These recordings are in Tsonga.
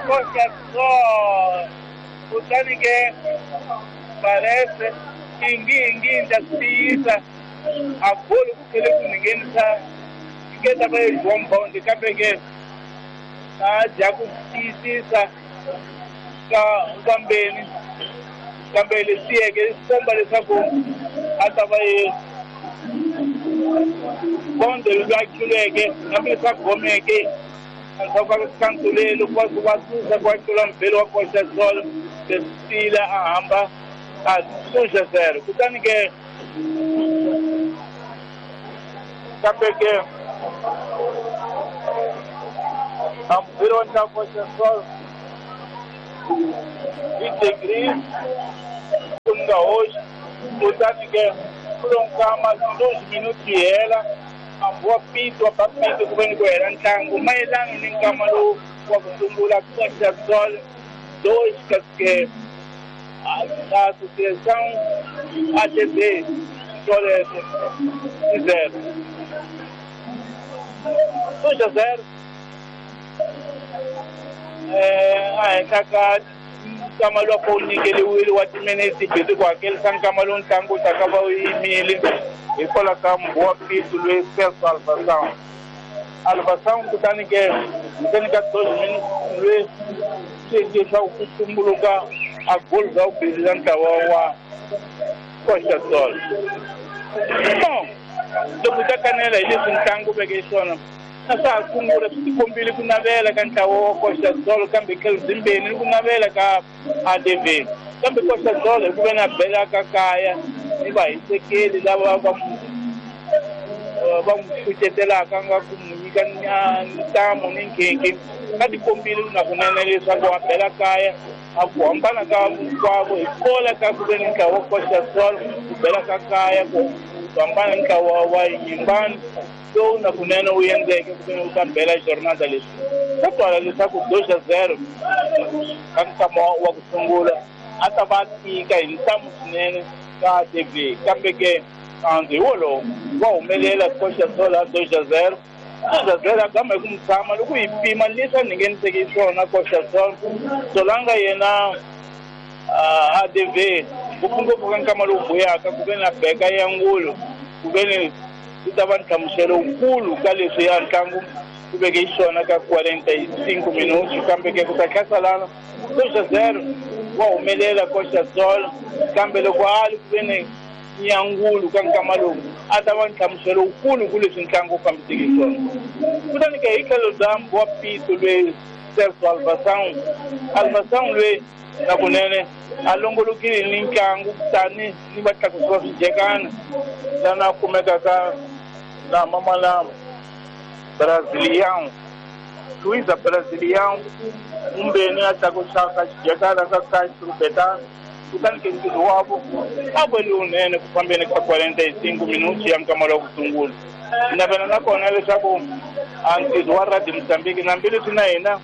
Costa Sol. Kutani ke parece ingi ndza swi tiyisa a goli ku tlhele ku ni nghenisa yi nge ta va yi João Bond, kambe ke a dya ku tiyisisa ka kambeni, kambe leswi tiyeke swi komba leswaku a ta va yi Bond loyi a tluleke, hambileswi a gomeke endzhaku ka kankulelo ku va ku va susa ku va tlula mubeli wa Costa Sol, leswi tiyile a hamba a 2-0. Kutani ke kambe ke a mubeli wa ntlangu Costa Sol hi degree ku nga hoxi. Kutani ke ku lo nkama 12 minuti yi hela, hambi wa pito wa ba pito ku ve ni ku hela ntlangu mayelana ni nkama lowu wa ku sungula Costa Sol 2 kasi ke Associação ATB Solese 0. 2-0 a henhla ka nkama lowu a wu nyikeliwile wa timinete busy ku hakelisa nkama lowu ntlangu wu taka va wu yimile hikwalaho ka mbuwa pito loyi Celso Alvação Alvação. Kutani ke ntseni ka 12 minutes loyi swi endle leswaku ku tumbuluka a goli bya vumbirhi bya ntlawa wa Costa Sol. Bon, loko hi ta kanela hi leswi ntlangu veke xiswona na swa ha sungula, swi tikombile ku navela ka ntlawa wa Costa Sol, kambe tlhelo byimbeni ni ku navela ka ADV, kambe Costa Sol hi ku ve na bela ka kaya ni vahisekeli lava va va n'wi kucetelaka nga ku n'wi nyika ntamu ni nkhinkhi, va tikombile na kunene leswaku a bela kaya a ku hambana ka hinkwavo hi kola ka ku ve ni ntlawa wa Costa Sol ku bela ka kaya ku hambana ni ntlawa wa Yimbani lowu na kunene wu endleke ku ve ni wu ta bela jornada. Leswi swa twala leswaku 2-0 ka nkama wa ku sungula a ta va tika hi ntamu swinene ka ATV, kambe ke nandzu hi wolowo wa humelela Costa Sol a 2-0. 2-0 a gama hi ku mutshama loko hi pima leswi a ngheniseke swona Costa Sol Solanga yena ADV ngopfungopfu ka nkama lowu buyaka ku ve na beka ya ngulu ku ve ni ku ta va nhlamuselo wukulu ka leswi ya ntlangu ku veke xiswona ka 45 minutos, kambe ke ku ta hlasalana 2-0 wa humelela Costa Sol, kambe loko a li ku ve ni nyangulu ka nkama lowu a ta va nhlamuselo wukulu ku leswi ntlangu wu fambiseke swona. Kutani ke hi tlhelo bya wa pito loyi Celso Alvação Alvação loyi na kunene a longolokile ni ntlangu tani ni vatlakusi va swijekana lana kumekaka na mamala Brazilian Luiza Brazilian mumbeni a tlakusaka xijekana ka Castro Betano. Kutani ke ntirho wavo a va lowunene ku fambeni ka 45 minuti ya nkama lowa ku sungula. Navela na kona leswaku a ntirho wa Radio Mozambique na hambileswi na hina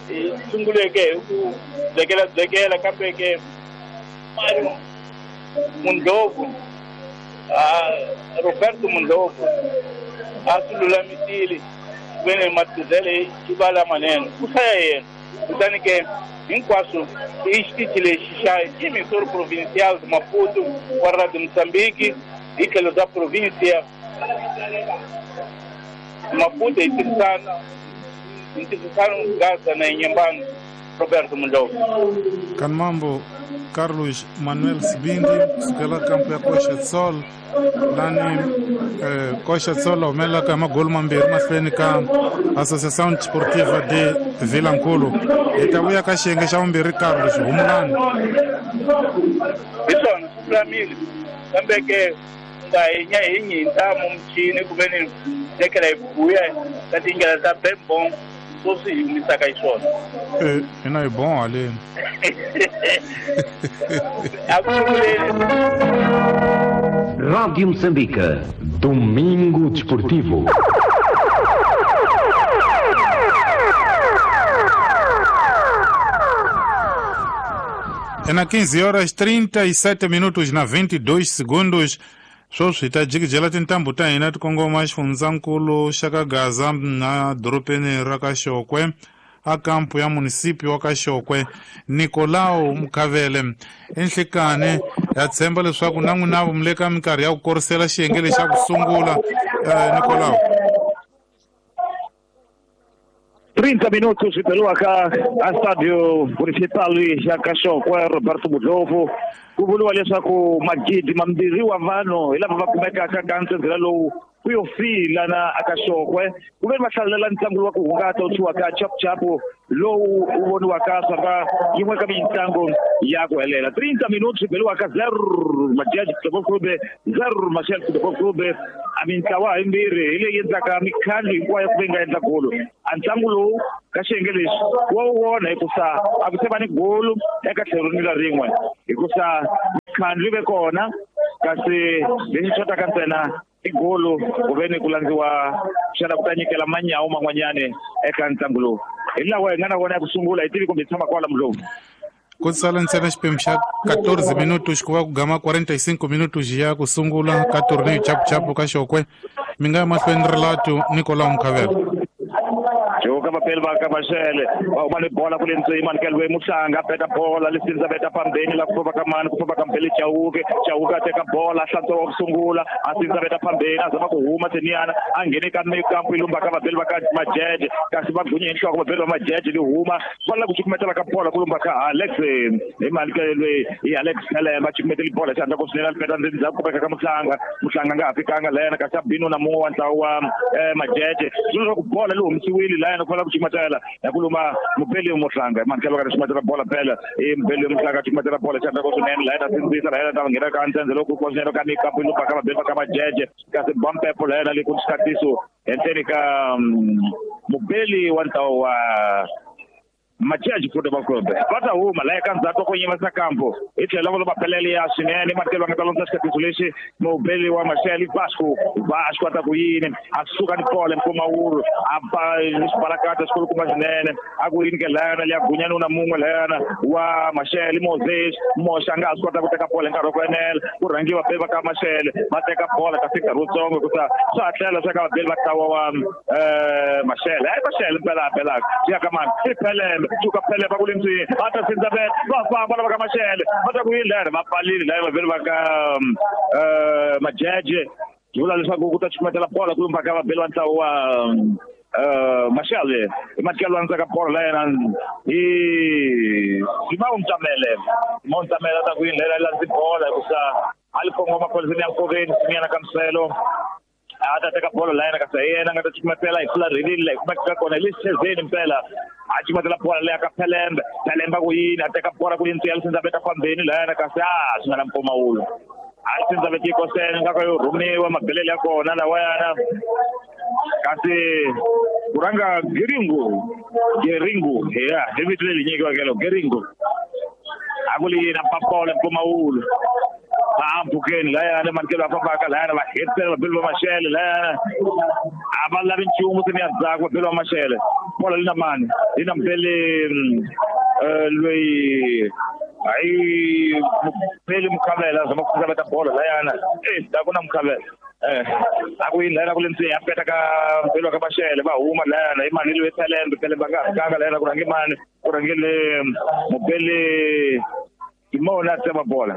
hi sunguleke hi ku byekela byekela, kambe ke Mario Mundlovu Roberto Mundlovu a swi lulamisile vene matizele yi va lamanene ku hlaya yena. Kutani ke hinkwaswo i xitichi lexi xa Emissor Provincial de Maputo wa Radio Mozambique hi tlhelo bya provincia Maputo hi tirhisana hi tirhisano Gaza na Inyembani Roberto Mundlovu. Kanmambo Carlos Manuel Sibindi kusukela kampu ya Costa Sol lani Costa Sol humelelaka hi magoli mambirhi mahlweni ka Associação Desportiva de Vilankulu. Hi ta vuya ka xiyenge xa vumbirhi. Carlos, humulani. Hi swona swi lulamile, kambe ke nga hi nya hi nyintamu muchini ku ve ni tekela hi buya ka tindlela ta bembon swo swi hi humisaka hi swona. Hina hi bon haleni. A ku sunguleni. Rádio Moçambique. Domingo Desportivo. É na 15 horas 37 minutos na 22 segundos. Sweswi hi ta jikijela tintambu ta hina ti kongoma xifundzankulu xa ka Gaza na dorobeni ra ka Xokwe. a kampu ya munisipyu wa Kaxokwe Nicolau Mukhavele. Enhlekani ya tshemba leswaku na n'wina mi le ka minkarhi ya ku korisela xiyenge lexi xa ku sungula. Nicolau. 30 minutos swi beriwaka a Stadio Municipal ya Kaxokwe Roberto Mudlovu. Ku vuriwa leswaku magidi mambirhi wa vanhu hi lava va kumekaka ka ntsendzela lowu ku yo fila na akaxokwe ku ve va hlalela ntlangu wa ku hungata wu thyiwaka chapuchapu lowu wu voniwaka swa ka yin'we ka mitlangu ya ku helela. 30 minutos swi beriwaka 0 Majaji Football Club 0 Machel Football Club. A mintlawa yimbirhi hi leyi endlaka mikhandlu hinkwayo ku ve nga endla golo. A ntlangu lowu ka xiyenge lexi wa wu vona hikusa a ku se va ni golo eka tlhelo ni la rin'we hikusa mikhandlu yi ve kona kasi lexi xotaka ntsena i golo ku ve ni ku landziwa xana ku ta nyikela manyawu man'wanyani eka ntlangu lowu. Hi lawa hi nga na wona ya ku sungula hi tivi kumbe hi tshama kwala Mudlovu. Ku sala ntsena xiphemu xa 14 minutos ku va ku gama 45 minutos ya ku sungula ka torneo chapuchapu ka Xokwe. Mi nga ya mahlweni relato Nicolau Mukhavele. Joka vapeli va ka Mashele va huma ni bola kule ndzeni Manikelwe Muhlanga beta bola Lisinza beta phambeni la ku famba ka mani ku famba ka Mbele Chauke. Chauke a teka bola hlantswa wa ku sungula a Sinza beta phambeni a zama ku huma Teniana a nghene ka mikampu yi lumba ka vapeli va ka Majeje kasi va gunye hi nhloko vapeli va Majeje li huma va lava ku cukumetela ka bola ku lumba ka Alex hi Manikelwe hi Alex Phelemba cukumeteli bola xandla ku swinene a peta ndzeni ndzhaku kumeka ka Muhlanga. Muhlanga nga ha fikanga la yena kasi a binu na mun'we wa ntlawa wa Majeje swilo swa ku bola li humesiwile la yena ku fanele ku cukumetela ya ku luma Mubeli Muhlanga Manikelwe ka cukumetela bola phela i Mubeli Muhlanga cukumetela bola xandla ku swinene la yena sindzisa la yena ta nghena ka ntsendze loko ku swinene ka mikampu yi lumba ka vabeli va ka Majeje kasi Bampepo la yena le ku xikatiso henhleni ka Mubeli wa ntlawa wa Majaji Football Club. Va ta huma la eka ndzhaku ku yimisa kampo hi tlhelo va pelele ya swinene Manikelwe va nga ta landza xikatiso lexi Mubeli wa Mashele Vasco. Vasco a ta ku yini a suka ni bola mpfumawulo a ba xibalakata xikulukumba swinene a ku yini ke layana liya gunyani na mun'we layana wa Mashele Moses Moxa a nga ha swi kota ku teka bola hi nkarhi wa ku enela ku rhangiwa vabeli va ka Mashele va teka bola kasi nkarhi wutsongo hikusa swa ha tlela swa ka vabeli va ntlawa wa Mashele. Hayi Mashele mpela a pelaka swi ya ka mani i Phelembe suka Phelembe ku le ndzeni va ta sindza vele va famba lava ka Mashele va ta ku yini layana va pfalile laya vabeli va ka Majeje swi vula leswaku ku ta cukumetela bola ku lumba ka vabeli va ntlawa wa Mashele hi Manikelwe a ndzaka bola la yena hi Simao Mtamele. Simao Mtamele a ta ku yini layena landzi bola hikusa a li kongoma pholisini ya nkoveni Simiana Kamselo a ta teka bola la yena kasi hi yena a nga ta cukumetela hi fularhelile la hi kumekaka kona hi le xithezeni mpela a cukumetela bola leya ka Phelembe. Phelembe ku yini a teka bola ku yini ya Lisinza beta phambeni la yena kasi a swi nga na mpfumawulo a Lisinza beta yikosene nga ka yo rhumiwa mabelele ya kona lawayana kasi ku rhanga Geringo Geringo ya hi vito leri nyikiweke lo Geringo a ku li yini a papola mpfumawulo a mpfhukeni layana Manikelwe a fambaka layana va hetisela vabeli va Mashele layana a va lavi nchumu se ni ya ndzhaku vabeli va Mashele bola li na mani li na Mbele loyi hayi Mubeli Mukhavela a zama ku veta bola layana la ku na Mukhavela a ku yini layana ku le ndzeni a peta ka Mbeli wa ka Mashele va huma layana hi mani loyi Phelembe Phelembe a nga ha fikanga layana ku rhange mani ku rhangele Mubeli Simona a tsema bola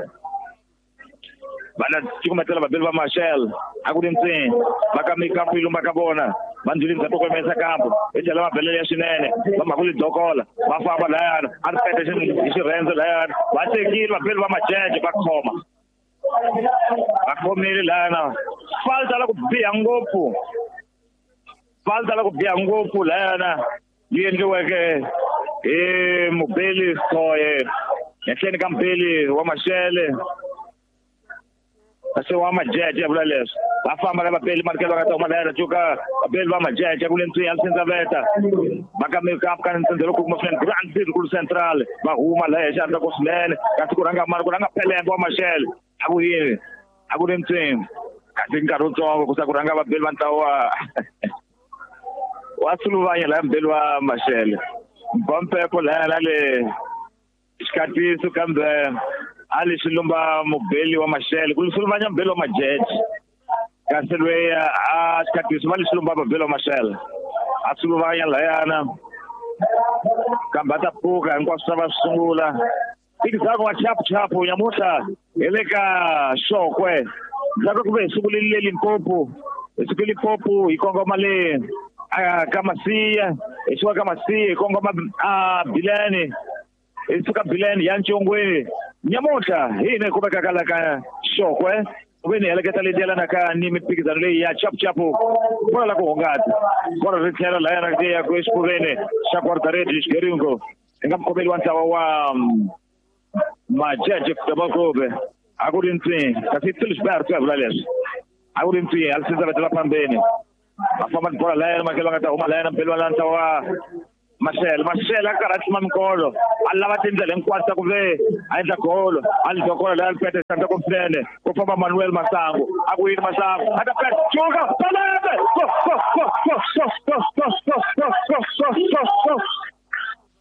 vana cukumetela vabeli va Mashele a ku ri ntseni va ka mikampu yi lumba ka vona va ndzili ndzhaku ko yimesa kampu hi tlhela va belele ya swinene va mhaka li dokola va famba layana a ri pete hi xirhendzo layana va tekile vabeli va Majeje va khoma va khomile layana falta la ku biha ngopfu falta la ku biha ngopfu layana yi endliweke hi Mubeli Soye henhleni ka Mubeli wa Mashele kasi wa Majeje ya vula leswi va famba na vabeli Manikelwe va nga ta huma layana cuka vabeli va Majeje ku le ndzeni ya Lisinza veta va ka mikampu ka ntsendze loko kuma swinene Grand Circle Central va huma laya hi xandla ku swinene kasi ku rhanga mani ku rhanga Phelembe wa Mashele a ku yini a ku le ndzeni kasi nkarhi wutsongo ku sa ku rhanga vabeli va ntlawa wa Suluvanya laya Mubeli wa Mashele Bampepo laya na le xikatiso kambe a li xi lumba Mubeli wa Mashele ku Suluvanya Mubeli wa Majeje kasi loyi a xikatiso va li xi lumba Mubeli wa Mashele a Suluvanya layana Kambe a ta pfuka hinkwaswo swa va swi sungula. Phikizano wa chapuchapu nyamuntlha hi le ka Xokwe. Ndzhaku ku ve hi sungulile le Limpopo, hi suke Limpopo hi kongoma le ka Masiya, hi suka ka Masiya hi kongoma a Bileni, hi suka Bileni ya Ncongweni. Nyamuntlha hi hina hi kumekaka la ka Xokwe, ku ve ni heleketa leyi yelanaka ni mimphikizano leyi ya chapuchapu bolo la ku hungata. Bolo ri tlhela lahayana ya ku exifuveni xa guarda-rede Xigeringo hi nga mukhomeli wa ntlawa wa Majaji Football Club. A ku ri ntswi kasi Philipsburg ku ya vula leswi a ku ri ntswi a lisinza vetela phambeni va famba ni bola lahayana makelo nga ta huma lahayana mpeli wa ntlawa wa Mashele. Mashele a karhi a tlima minkolo a lava tindlela hinkwato ta ku ve a endla golo a li dokola laya lipete xandla kumfinene ku famba Manuel Masangu a ku yini Masangu a ta peta juka Palembe go go go go go go go go go go go go go.